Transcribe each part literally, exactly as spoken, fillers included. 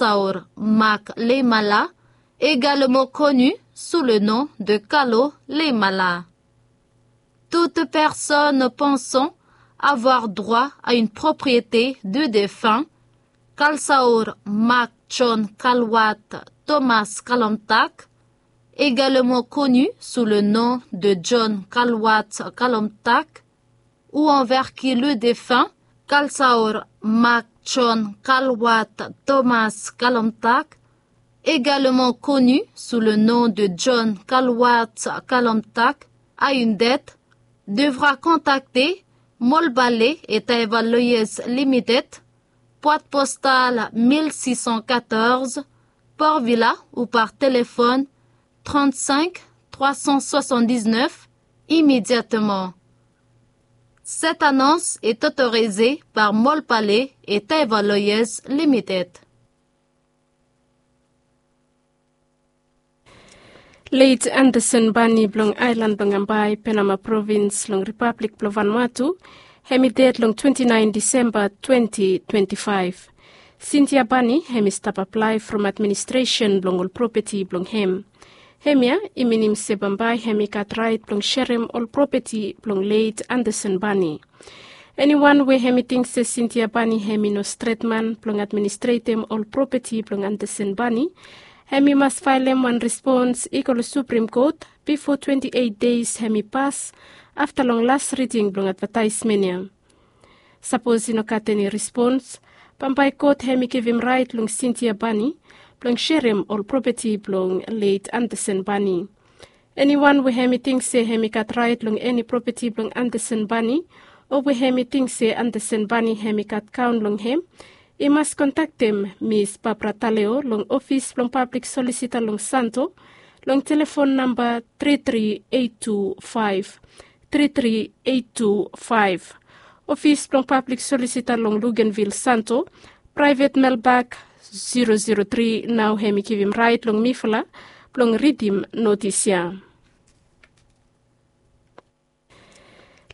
Kalsaor Mak Leimala, également connu sous le nom de Kalo Leimala. Toute personne pensant avoir droit à une propriété du défunt Kalsaor Mak John Kalwat Thomas Kalomtak, également connu sous le nom de John Kalwat Kalomtak, ou envers qui le défunt Kalsaor Mak John Kalwat Thomas Kalomtak, également connu sous le nom de John Kalwat Kalomtak, a une dette, devra contacter Molbale et Taeva Lawyers Limited, boîte postale mille six cent quatorze, Port Vila, ou par téléphone trente-cinq trois cent soixante-dix-neuf immédiatement. Cette annonce est autorisée par Molbale et Taeva Lawyers Limited. Late Anderson Bani blong aelan blong Ambae, Penama provins long Ripablik blong Vanuatu, hem i ded long twenti naen Disemba twenti twenti faef. Sintia Bani hem i stap aplae from administresen blong ol propeti blong hem. Hemia i minim se bambae hem i gat raet blong serem ol propeti blong late Anderson Bani. Eniwan we hem i ting se Sintia Bani hem i no stret man blong administretem ol propeti blong Anderson Bani, hem i mas faelem wan respons i go long Suprem Kot bifo twenti eit deis hem i pas afta long las riding blong advataesmen ya. Sapos i no gat eni respons, bambae kot hem i givim raet long Sintia Bani blong serem ol propeti blong late Anderson Bani. Eniwan we hem i ting se hem i gat raet long eni propeti blong Anderson Bani, o we hem i ting se Anderson Bani hem i gat kaon long hem, i mas kontaktem Mis Barbara Taleo long ofis blong pablik solisita long Santo, long telefon namba tri tri eit tu faef, tri tri eit tu faef. Ofis blong pablik solisita long Luganville, Santo, praevet melbak zero zero tri, nao hem i givim raet long mifala blong ridim notis ya.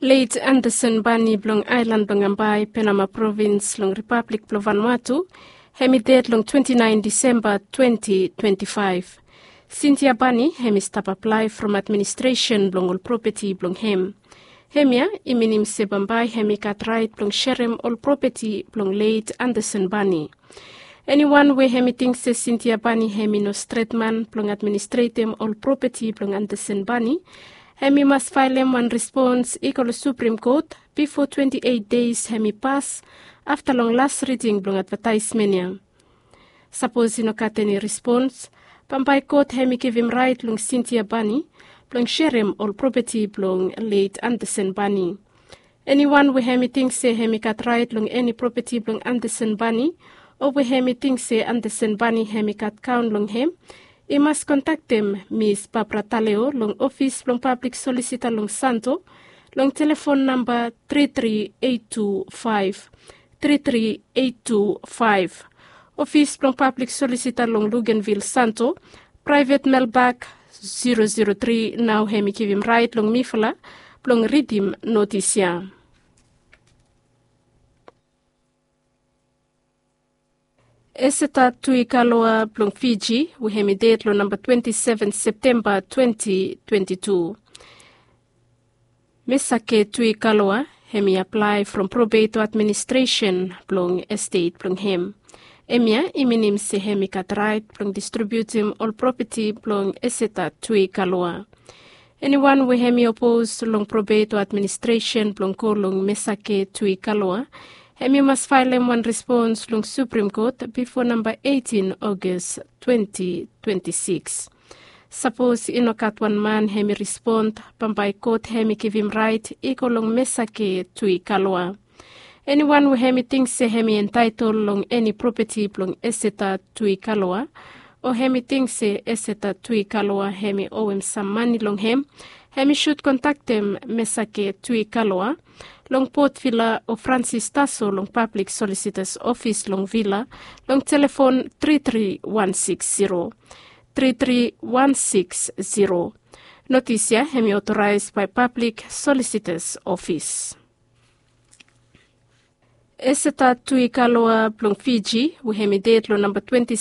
Late Anderson Bani blong aelan blong Ambae, Penama provins long Ripablik blong Vanuatu, hem i ded long twenti naen Disemba twenti twenti faef. Sintia Bani hem i stap aplae from administresen blong ol propeti blong hem. Hemia i minim se bambae hem i gat raet blong serem ol propeti blong late Anderson Bani. Eniwan we hem i ting se Sintia Bani hem i no stret man blong administretem ol propeti blong Anderson Bani, hem i mas faelem wan respons i go long Suprem Kot bifo twenti eit deis hem i pas afta long las riding blong advataesmen ya. Sapos i no gat eni respons, bambae kot hem i givim raet long Sintia Bani blong serem ol propeti blong late Anderson Bani. Eniwan we hem i ting se hem i gat raet long eni propeti blong Anderson Bani, o we hem i ting se Anderson Bani hem i gat kaon long hem, i mas kontaktem Mis Barbara Taleo long ofis blong pablik solisita long Santo, long telefon namba tri tri eit tu faef, tri tri eit tu faef. Ofis blong pablik solisita long Luganville, Santo, praevet melbak zero zero tri, nao hem i givim raet long mifala blong ridim notis ya. Eseta Tui Kaloa blong Fiji, we hem i ded long namba twenti seven Septemba twenti twenti tu. Mesake Tui Kaloa hem i aplae from Probeito Administresen blong estet blong hem. Hemia i minim se hem i gat raet blong distribiutim ol propeti blong Eseta Tui Kaloa. Eniwan we hem i opos long Probeito Administresen blong go long Mesake Tui Kaloa, hem i mas faelem wan respons long Suprem Kot bifo namba eitin August twenti twenti sikis. Sapos i no gat wan man hem i respon, bambae kot hem i givim raet i go long Mesake Tui Kaloa. Eniwan we hem i ting se hem i entaetol long eni propeti blong Eseta Tui Kaloa, o hem i ting se Eseta Tui Kaloa hem i owem sam mane long hem, hem i sud kontaktem Mesake Tui Kaloa long Port Vila o Francis Taso long Pablik Solisitas Ofis long Vila long telefon tri tri wan sikis zero, tri tri wan sikis zero. Notis ya hem i otoraes bae Pablik Solisitas Ofis. Eseta tu i kaloa blong Fiji we hem i ded long namba twenti